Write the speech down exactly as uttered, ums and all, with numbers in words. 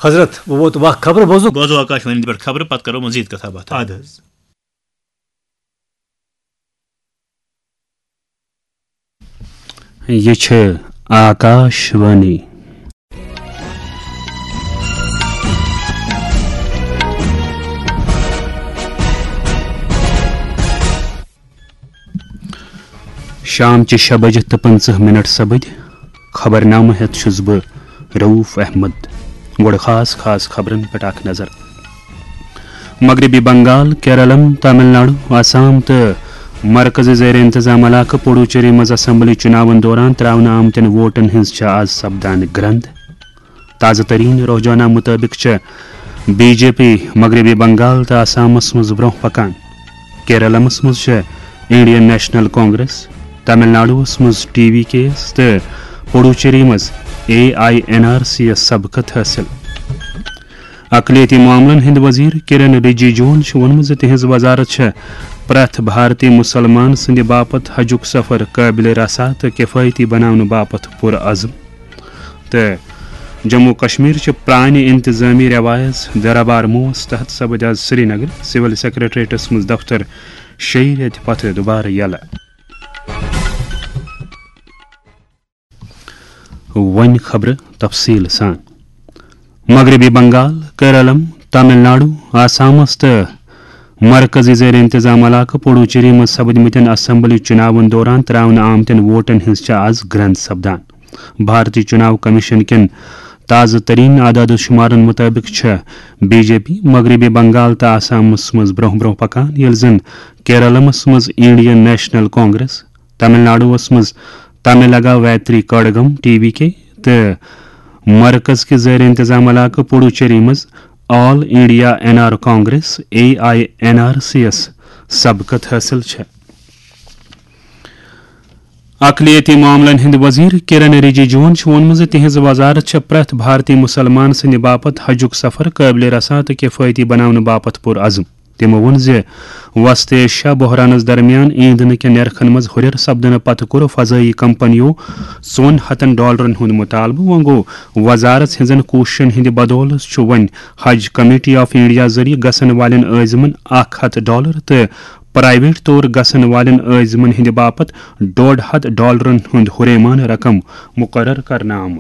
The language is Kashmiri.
حضرت، بہٕ ووت وق خبرٕ بوزُن۔ بوزو آکاش وانی پٮ۪ٹھ خبرٕ، پتہٕ کرو مزید کتھا باتھا۔ اَدٕ حظ۔ یہِ چھِ آکاش وانی۔ شام چہِ شےٚ بجہِ تہٕ پٕنٛژٕہ منٹ سپٕدۍ۔ خبرنامہٕ ہٮ۪تھ چھُس بہٕ رؤف احمد۔ گۄڈٕ خاص خاص خبرن پٮ۪ٹھ اکھ نظر۔ مغربی بنگال، کیرلم، تامل ناڈو، آسام تہٕ مرکزی زیر انتظام علاقہٕ پڈوچیری منٛز اسمبلی چُناون دوران تراونہٕ آمتٮ۪ن ووٹن ہٕنٛز چھےٚ آز سپدان گرند۔ تازٕ ترین رجحانہ مطٲبق چھےٚ بی جے پی مغربی بنگال تہٕ آسامس منٛز برونٛہہ پکان۔ کیرلمس منٛز چھےٚ انڈین نیشنل کانگریس، تامل ناڈوس منٛز ٹی وی کے یس تہٕ پڈوچیری منٛز A I N R C یس سبقت حٲصِل۔ اقلیتی معاملن ہٕنٛدۍ وزیر کرن رجیجوَن چھُ ووٚنمُت زِ تِہنٛز وزارت چھےٚ پرٛٮ۪تھ بھارتی مسلمان سٕنٛدِ باپتھ حجُک سفر قٲبلِ رسا تہٕ کفایتی بناونہٕ باپتھ پُرعزم۔ تہٕ جموں کشمیر چہِ پرانہِ انتظامی رٮ۪وایژ دربار موس تحت سپٕدۍ آز سرینگر سول سیکرٹریٹس منٛز دفتر شیٚیہِ رٮ۪تہِ پتہٕ دُبارٕ یلہٕ۔ وۄنۍ خبرٕ تفصیٖل سان۔ مغربی بنگال، کیرلم، تامل ناڈو، آسامس تہٕ مرکزی زیر انتظام علاقہٕ پڈوچیری منٛز سپدمٕتٮ۪ن اسمبلی چُناون دوران تراونہٕ آمتٮ۪ن ووٹن ہٕنٛز چھےٚ آز گرنٛد سپدان۔ بھارتی چُناو کمیشن کٮ۪ن تازٕ ترین اعداد و شمارن مطٲبق چھےٚ بی جے پی مغربی بنگال تہٕ آسامس منٛز برونٛہہ برونٛہہ پکان، ییٚلہِ زن کیرلمس منٛز انڈین نیشنل کانگریس، تامل ناڈوس منٛز تاملگا ویتری کڑگم، ٹی وی کے، تہٕ مرکز کہِ زیر انتظام علاقہٕ پڈوچیری منٛز all India N R Congress, A I N R C یس سبقت حٲصِل چھےٚ۔ اقلیتی معاملن ہٕنٛدۍ وزیر کرن رجیجوَن چھُ ووٚنمُت زِ تِہنٛز وزارت چھےٚ پرٛٮ۪تھ بھارتی مسلمان سٕنٛدِ باپتھ حجُک سفر قٲبلِ رسا تہٕ کفایتی بناونہٕ باپتھ پُرعزم۔ تٔمۍ ووٚن زِ وسط ایشیا بحرانس درمیان ایندھنہٕ کٮ۪ن نرخن منٛز ہُرٮ۪ر سپدنہٕ پتہٕ کوٚر فضٲیی کمپنیو ژۄن ہتن ڈالرن ہُنٛد مطالبہٕ۔ وۄنۍ گوٚو، وزارت ہٕنٛزن کوٗششن ہٕنٛدِ بدولہٕ چھُ وۄنۍ حج کمیٹی آف انڈیا ذٔریعہٕ گژھن والٮ۪ن عٲزمن اکھ ہتھ ڈالر تہٕ پرائیویٹ طور گژھن والٮ۪ن عٲزمن ہٕنٛدِ باپتھ ڈۄڈ ہتھ ڈالرن ہُنٛد ہُریمان رقم مقرر کرنہٕ آمُت۔